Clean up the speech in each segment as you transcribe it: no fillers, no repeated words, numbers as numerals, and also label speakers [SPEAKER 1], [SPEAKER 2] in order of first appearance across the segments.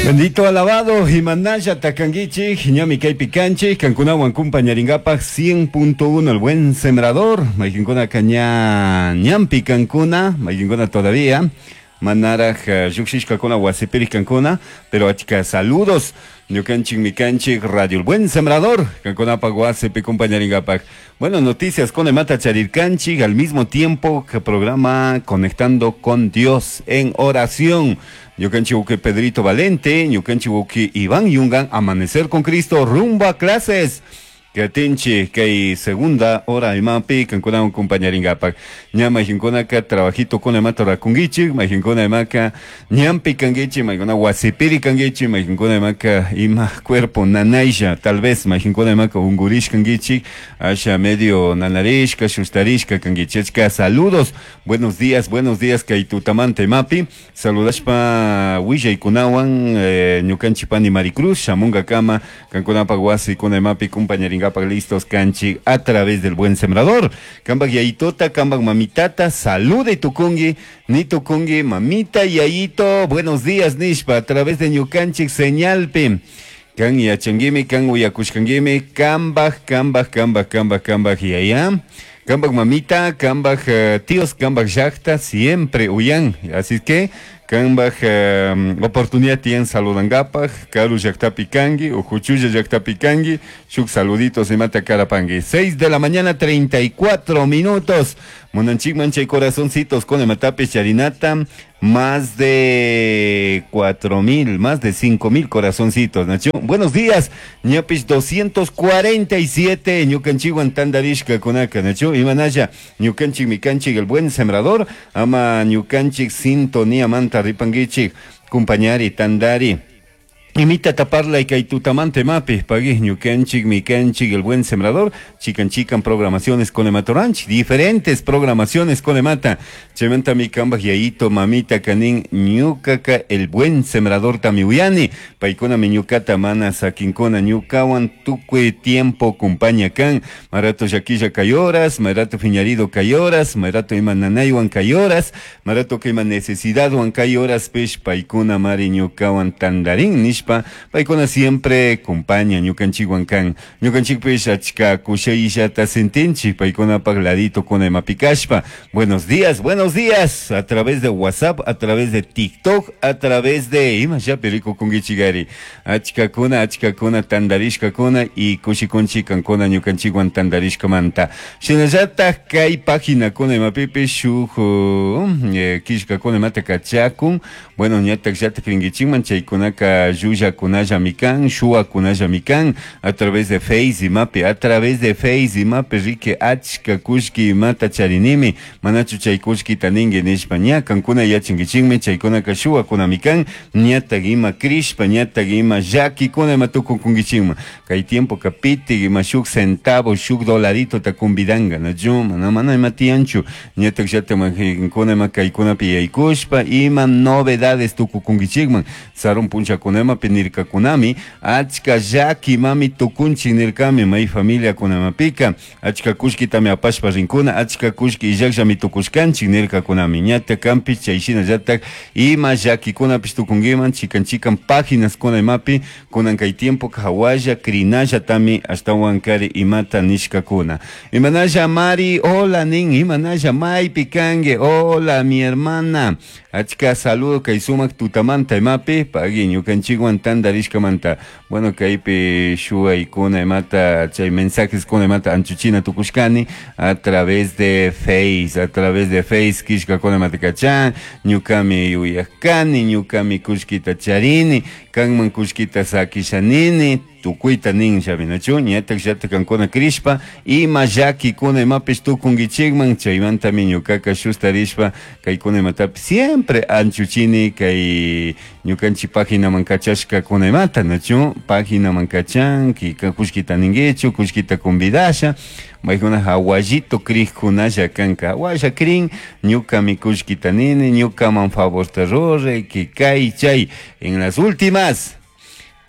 [SPEAKER 1] Bendito alabado, Himanaya Takanguichi, Ñami Kaypi Kanchi, Kankunawan Kumpañaringapaj 100.1 El Buen Sembrador, Maykinkuna Kaña Ñampi Kankuna, Maykinkuna todavía, Manaraj Lluqshishkakuna Wasipiri Kankuna, pero achka saludos, Ñukanchik Mikanchik, Radio El Buen Sembrador, Kankunapaj Wasipi Kumpañaringapaj. Bueno, noticias con Emata Charirkanchik, al mismo tiempo que programa Conectando con Dios en Oración. Ñukanchik Pedrito Valente, Ñukanchik Iván Yungan, Amanecer con Cristo, rumbo a clases. Katinchi, kay segunda hora imapi, kankunawan compañaringapak. Ña mayhinkunaka trabajito con imata rakungichik, mayhinkuna imaka ñampi kangichi, mayhinkuna wasipiri kangichi, mayhinkuna imaka ima cuerpo nanaisha, tal vez mayhinkuna imaka ungurish kangichik, asha medio nanarishka, shustarishka kangichi. Achka saludos, buenos días kay tutamanta imapi, saludashpa willaykunawan, ñukanchik pani Maricruz, shamunga kama, kankunapak wasi kuna imapi compañaringapak listos kanchi a través del Buen Sembrador. Kambak yayitota, kambak mamitata, salude tukungi, ni tukungi, mamita yayito, buenos días nishpa, a través de ñukanchik señalpi. Kan yachanguimi, kan uyakushkanguimi, kambak, kambak, kambak, kambak, kambak yaya. Kambak mamita, kambak tíos, kambak llaqta, siempre uyan. Así que, kambak oportunidad tienen saludangapaj, karu llaqtapi kangi, ujuchulla llaqtapi kangi, shuk saluditos y mata karapangi. 6 de la mañana, 34 minutos. Monanchik manchay corazoncitos con el matape charinata, más de 4,000, más de 5,000 corazoncitos, Nacho. Buenos días, ñapis 247, ñukanchikwan tandarishka kunaka, Nacho. Imanaya, ñukanchik mikanchik, el buen sembrador, ama ñukanchik sintonía manta ripanguichik, compañari, tandari. Imita taparla y kaitutamante mapi, pagui ñukanchik, mikanchik, el buen sembrador, chican chican programaciones con Emato Ranch, diferentes programaciones con Emata, chementa mi kamba yaito, mamita kanin, ñukaka, el buen sembrador tamiuyani, paikuna mi ñukata mana sakinkuna ñukawan, tukui tiempo kumpaña kan, marato yaquilla kayoras, marato fiñarido kayoras, marato ima nanaywan kayoras, marato que ima necesidad wan kayoras, pech paikuna mari ñukawan tandarín, nishpa, paikuna siempre acompaña ñukanchikwan kan, ñukanchikpish achka kushayllata sentinchik, paikuna pak ladito kuna imapikashpa. Buenos días, buenos días, a través de WhatsApp, a través de TikTok, a través de ima llapi rico kungichigari, achkakuna, achkakuna tandarishkakuna y kushikunchik kankuna ñukanchikwan tandarishkamanta. Shinallataj kay página kuna imapipish shuk killkakuna imata kachakun, bueno, ñatak llatak rinkichikman chaykunaka llullakunallami kan, shuwakunallami kan, a través de Face imapi, a través de Face imapi riki achka kullki imata charinimi, manachu chay kullkita ninki nishpa ña kankuna yachankichikmi chaykunaka shuwakunami kan, ñatak ima krishpa, ñatak ima llakikuna ima tukukunkichikman. Kay tiempo pitik ima shuk centavo, shuk dolarito ta convidanga, nachu, mana, mana ima tiyanchu, ñatak llata majinkuna ima kaykunapi yaykushpa, ima novedades tukukunkichikman, sarun punchakunama nirkakunami, achka llaki mami tukunchik nirkami, may familia kunamapika, achka kullkitami apashpa rinkuna, achka kullki illakllami tukushkanchik nirkakunami, ñata kampi chayshina llatak ima llakikunapish tukunkiman, chikan chikan páginas kuna imapi, kunan kay tiempo hawalla krinallatami ashtawan kari imata nishkakuna. Imanalla Mari, hola nin, imanalla maypi kanki, hola mi hermana, achka saludo kay sumak tutamanta imapi, pagui ñukanchikwan tandarishkamanta. Bueno, kaypi shuwaykuna imata, chay mensajes kuna imata anchuchina tukushkani a través de Face, a través de Face killkakuna imata kachan, ñukami yuyajkani, ñukami kullkita charini, kanman kullkita sakishanini, tukuyta nin llaminachu, ñatak llatak kankuna krishpa, ima llakikuna imapish tukunkichikman, chaymantami ñukaka shustarishpa, kaykuna imatapi siempre anchuchini kay ñukanchik páginaman kachashkakuna imata, nachu, páginaman kachan, kika kullkita ninkichu, kullkita convidasha, maykuna hawallito krikkunalla kanka, hawalla krin, ñukami kullkita nini, ñukaman favorta ruray, que kay chay, en las últimas.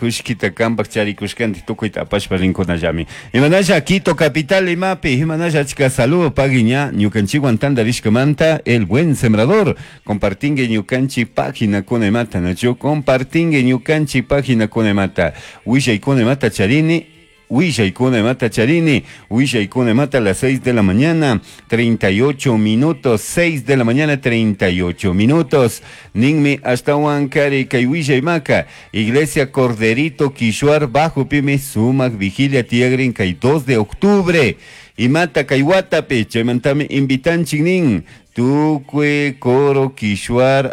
[SPEAKER 1] Kushkita kampak charikushkanti tukuyta apashpa rinkunallami. Imanalla Quito capital imapi, imanalla achka saludo pagui ña ñukanchikwan tantarishkamanta El Buen Sembrador. Compartingue ñukanchik página kuna imata, nachu? Compartingue ñukanchik página kuna imata. Willaykuna imata charini. Willaykuna imata charini, willaykuna imata a las 6 de la mañana, 38 minutos, 6 de la mañana, 38 minutos. Ninmi ashtawan kari kay willaymaka, Iglesia Corderito Quishuar Bajo Pime Sumak Vigilia tiyagrin kay 2 de octubre. Imata kay watapi, chaymantami invitanchik nin. Tucue, Coro, Quishuar,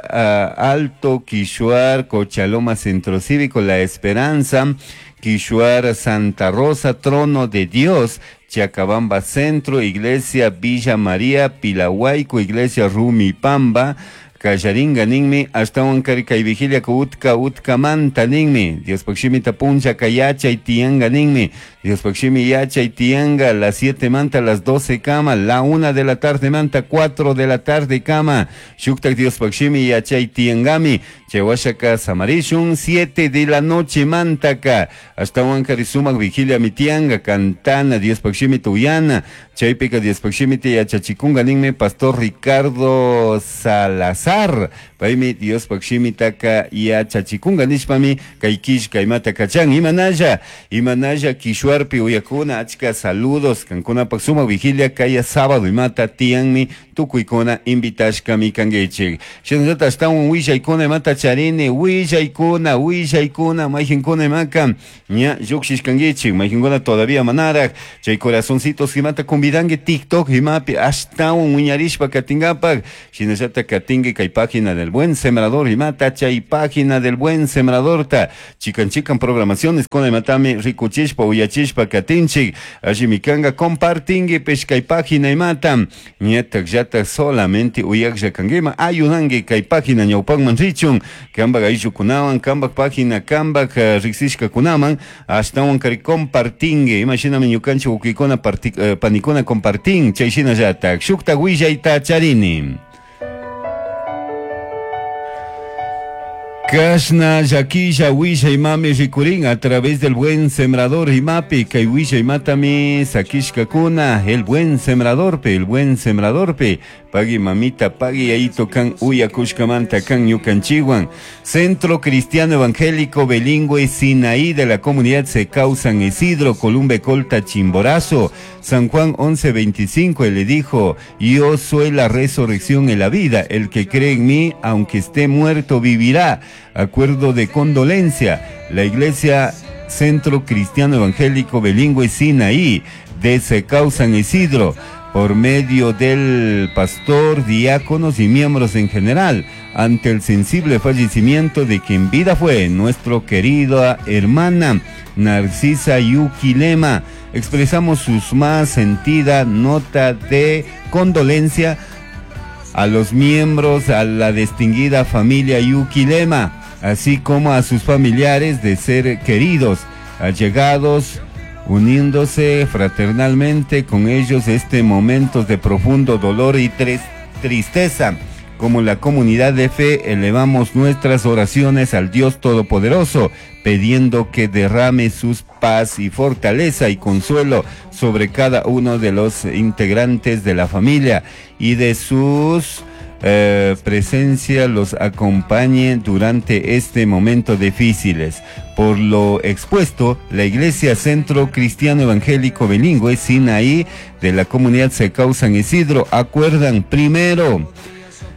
[SPEAKER 1] Alto, Quishuar, Cochaloma, Centro Cívico, La Esperanza, Quishuar, Santa Rosa, Trono de Dios, Chacabamba Centro, Iglesia Villa María, Pilahuayco, Iglesia Rumipamba, Kallaringa ninmi, ashtawan kari kay vigilia utka utkamanta ninmi, Diospaj shimita puncha kayachay tiyanga ninmi, Diospaj shimi yachay tiyanga, las 7 manta, las 12 kama, la 1 de la tarde manta, 4 de la tarde kama, shuktak Diospaj shimi yachay tiyangami, chaywashaka samarishun, 7 de la noche mantaka, ashtawan kari sumak vigilia mitianga, cantana, Diospaj shimi tuyana, chaypika Diospaj shimita yachachikunga ninmi, Pastor Ricardo Salazar, paymi Diospaj shimitaka yachachikunga nishpami kay killka imata kachan. Imanalla, imanalla Quishuarpi uyakuna, achka saludos kankunapak sumak vigilia kaya sábado imata tiyanmi tukuykuna invitashkami kankichik. Shinallata ashtawan willaykuna imata charini, willaykuna, willaykuna, mayqinkuna imaka ña llukshishkankichik, mayqinkuna todavía manaraj, chay corazoncitos imata convidanki TikTok imapi ashtawan wiñarishpa katinkapak, shinallata katinki kay página del Buen Sembrador imata, chay página del Buen Sembradorta, chikan chikan programaciones kuna imatami rikuchishpa uyachishpa katinchik, allimi kanga compartinki pish kay página imata, ñatak llatak solamente uyaklla kankima, ayudanki kay página ñawpakman richun, kambak ayllukunawan, kambak página, kambak riksishkakunaman, ashtawan kari compartinki, imashinami ñukanchik wawkikuna panikuna compartin, chay shinallatak, shuktak willayta charini. Kashna llakilla willaymami rikurin a través del Buen Sembrador imapi, kay willaymatami sakishkakuna, el Buen Sembrador pe, el Buen Sembrador pe, pagui mamita, pagui ayito kan uyakushkamanta kan ñukanchiwan. Centro Cristiano Evangélico Bilingüe Sinaí de la comunidad Secau San Isidro, Columbe Colta, Chimborazo, San Juan 11:25, él le dijo, yo soy la resurrección y la vida, el que cree en mí, aunque esté muerto, vivirá. Acuerdo de condolencia, la Iglesia Centro Cristiano Evangélico Bilingüe Sinaí de Secau San Isidro, por medio del pastor, diáconos y miembros en general, ante el sensible fallecimiento de quien vida fue nuestra querida hermana Narcisa Yuquilema, expresamos sus más sentida nota de condolencia a los miembros, a la distinguida familia Yuquilema, así como a sus familiares de ser queridos, allegados, uniéndose fraternalmente con ellos este momento de profundo dolor y tristeza. Como la comunidad de fe, elevamos nuestras oraciones al Dios Todopoderoso, pidiendo que derrame sus paz y fortaleza y consuelo sobre cada uno de los integrantes de la familia y de sus presencia los acompañe durante este momento difíciles. Por lo expuesto, la Iglesia Centro Cristiano Evangélico Bilingüe Sinaí de la comunidad Secau San Isidro acuerdan primero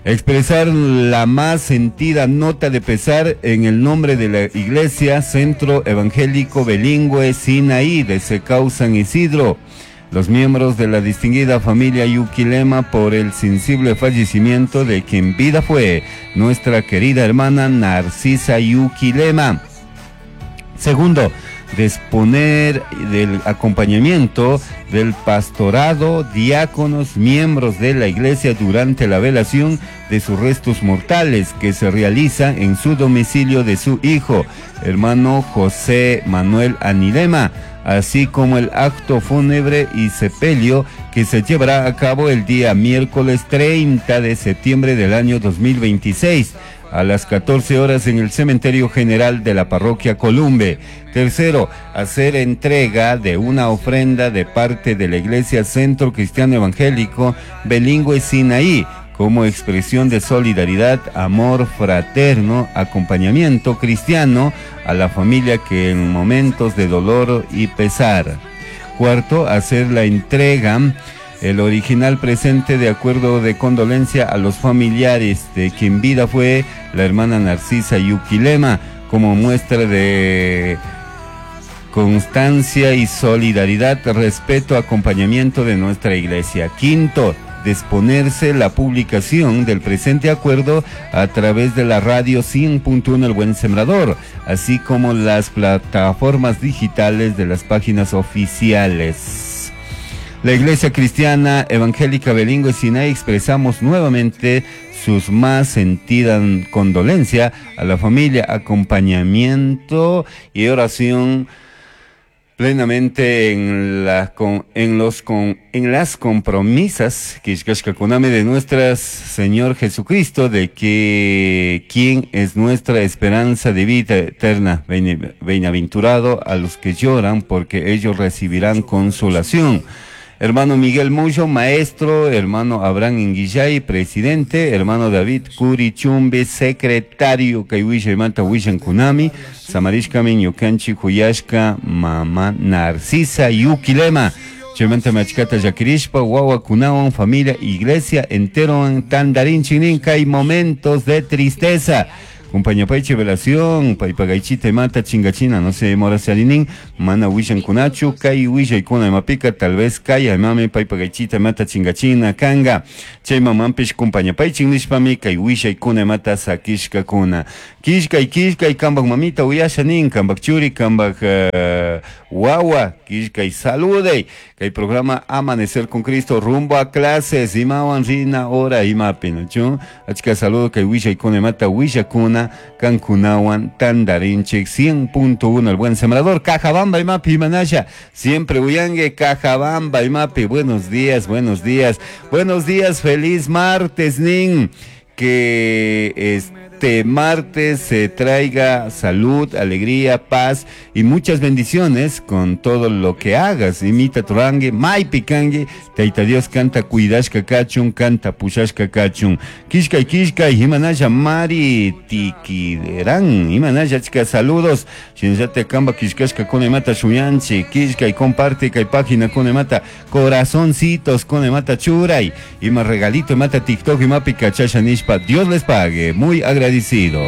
[SPEAKER 1] expresar la más sentida nota de pesar en el nombre de la Iglesia Centro Evangélico Bilingüe Sinaí de Secau San Isidro, los miembros de la distinguida familia Yuquilema por el sensible fallecimiento de quien vida fue nuestra querida hermana Narcisa Yuquilema. Segundo, disponer del acompañamiento del pastorado, diáconos, miembros de la iglesia durante la velación de sus restos mortales que se realiza en su domicilio de su hijo, hermano José Manuel Anilema, así como el acto fúnebre y sepelio que se llevará a cabo el día miércoles 30 de septiembre del año 2026 a las 14 horas en el Cementerio General de la Parroquia Columbe. Tercero, hacer entrega de una ofrenda de parte de la Iglesia Centro Cristiano Evangélico Bilingüe Sinaí como expresión de solidaridad, amor fraterno, acompañamiento cristiano a la familia que en momentos de dolor y pesar. Cuarto, hacer la entrega el original presente de acuerdo de condolencia a los familiares de quien vida fue la hermana Narcisa Yuquilema, como muestra de constancia y solidaridad, respeto, acompañamiento de nuestra iglesia. Quinto, disponerse la publicación del presente acuerdo a través de la radio 100.1 El Buen Sembrador, así como las plataformas digitales de las páginas oficiales. La Iglesia Cristiana Evangélica Bilingüe Sinaí expresamos nuevamente sus más sentida condolencia a la familia, acompañamiento y oración plenamente en la con, en los con, en las compromisas que kunami de nuestro Señor Jesucristo, de que quien es nuestra esperanza de vida eterna. Bienaventurado a los que lloran, porque ellos recibirán consolación. Hermano Miguel Muyo, maestro, hermano Abraham Inguillay, presidente, hermano David Curi Chumbe, secretario, kay willaymanta willankunami, samarishkami ñukanchik huyashka mama Narcisa Yuquilema. Chaymanta achkata llakirishpa, wawakunawan, familia, iglesia entero tandarinchik kay momentos de tristeza. Compañapaychi velación, paypagaychita imata chingachina, no sé, mora salinin, mana willankunachu, kay willaykuna imapika, tal vez kay imami paypagaychita imata chingachina, kanga, chay mamanpish compañapaychik nishpami, kay willaykuna imata sakishkakuna. Kishkay, kishkay, kambak mamita uyasha nin, kambak churi, kambak wawa, kishkay salude, kay programa Amanecer con Cristo, rumbo a clases, imawan rina hora imapi, ¿no? Achka saludo kay willaykuna imata willakuna, Kankunawan, Tandarinchik, 100.1, el buen sembrador, Cajabamba imapi, Manaya, siempre uyangue, Cajabamba imapi, buenos días, buenos días, buenos días, feliz martes, nin, que este martes se traiga salud, alegría, paz y muchas bendiciones con todo lo que hagas. Imita turangue, maypi kangue, Taita Dios kanta cuidashka kachun, kanta pushashka kachun. Kishkay, kishkay, imanaya mari tikiderán, imanaya chica, saludos. Shinzate kamba kishkashka con emata shuyanchi, kishkay, comparte kay página con emata, corazoncitos con emata churay, ima regalito emata TikTok imapi kachasha nishpa. Dios les pague, muy agradecido.